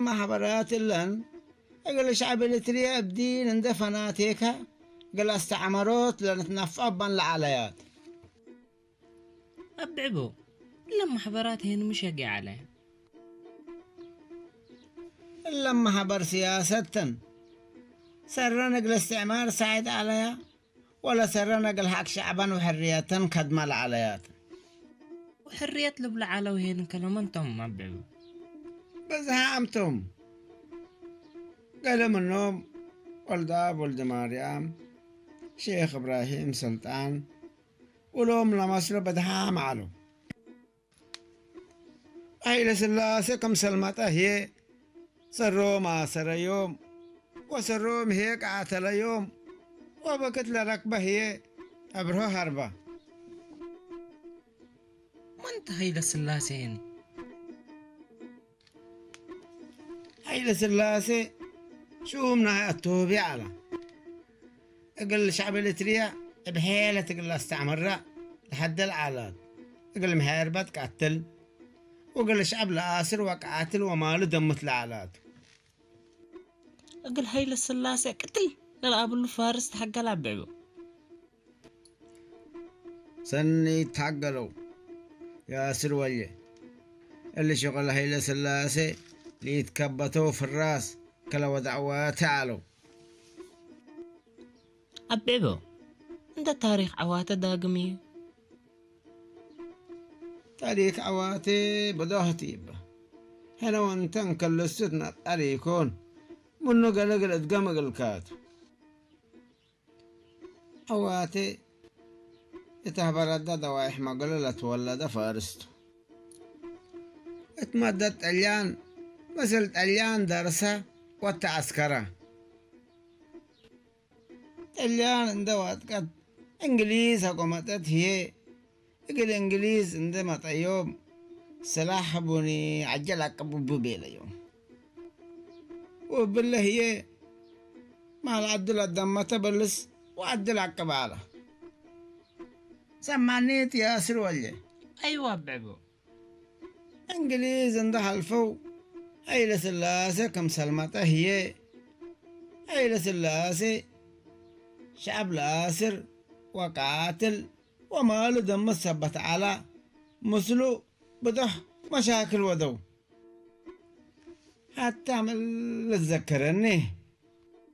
ማሕበራት እለን እግል ሻዕብ ኤሪትርያ እብ ዲን እንደ ፈናቴካ እግል አስተዕመሮት ለንትናፍዖ እባን ለዓለያት። አብዕቦ እለ ማሕበራት ሄን ምሸግ ዓለ። እለ ማሕበር ስያሰት ተን ሰረን እግል እስትዕማር ሳዕድ ዓለያ ወለ ሰረን እግል ሐቅ ሸዕበን ወሕርየተን ከድማ ለዓለያት። ወሕርየት ልብለ ዓለው ሄን ከለመን ቶም አብዕቦ። ብዝሃ አምቶም ገለ ምኖም ወልደአብ ወልደማርያም፣ ሼክ እብራሂም ሰልጣን፣ ውሎም ለመስሎ በድሃም ዐለው። ሀይለ ስላሴ ክም ሰልመጠ ህዬ ሰሮም አሰረዮም ወሰሮም ህዬ ቀአተለዮም ወበክት ለረክበ ህዬ አብርሆ ሀርበ። መን ተ ሀይለ ስላሴ ሄኒ? ሀይለ ስላሴ ሹም ናይ አቶብያ ዐለ። እግል ሸዕብ ኤሪትርያ እብ ሔለት እግል አስተዕምራ ለሐደል ዐላት። እግል ምሔርበት ቀትል ወእግል ሸዕብ ለአስር ወቀትል ወማሉ ደምት ለዐላት። እግል ሀይለ ስላሴ ቅትል ለልአብሉ ፋርስ ተሐገል አብዕቦ። ሰኒ ይትሐገለው ያስር ወልየ። እሊ ሽቅል ሀይለ ስላሴ ለኢትከበተው ፍራስ ከለወድ ዐዋቴ ዐለው። አብዕቦ እንደ ታሪክ ዐዋቴ ዳግም እዩ። ታሪክ ዐዋቴ ብዶህት ይበ። ሕነ ወእንተ እንክልሱት ነጠር ይኮን ምኑ ገለ እግል እድገም እግልካቱ። ዐዋቴ እት ሀበረደ ደዋይሕ መገሎ ለትወለደ ፋርስ ቱ። እት መደት ጠልያን ምስል ጠልያን ደርሰ ወተዐስከረ። ጠልያን እንደ ዋጥቀት እንግሊዝ አቆመጠት ህዬ እግል እንግሊዝ እንዴ መጠዮም፣ ስላሕ ቡኒ ዐጀል አቅብ እቡ ቤለዮም። ወእብለ ህዬ ማል ዐዱ ለደመተ በልስ ወዐዱ ለአቅብ ዐለ። ሰማኒት ያስር ወልየ። አይወ አብዕቦ። እንግሊዝ እንዴ ሐልፈው ሀይለ ስላሴ ክም ሰልመጠ ህዬ ሀይለ ስላሴ ሸዐብ ለአስር ወቃትል ወማሉ ደምት ሰበት ዐላ፣ ምስሉ ብዶሕ መሻክል ወደው። ሐታ ምን ልትዘከረኒ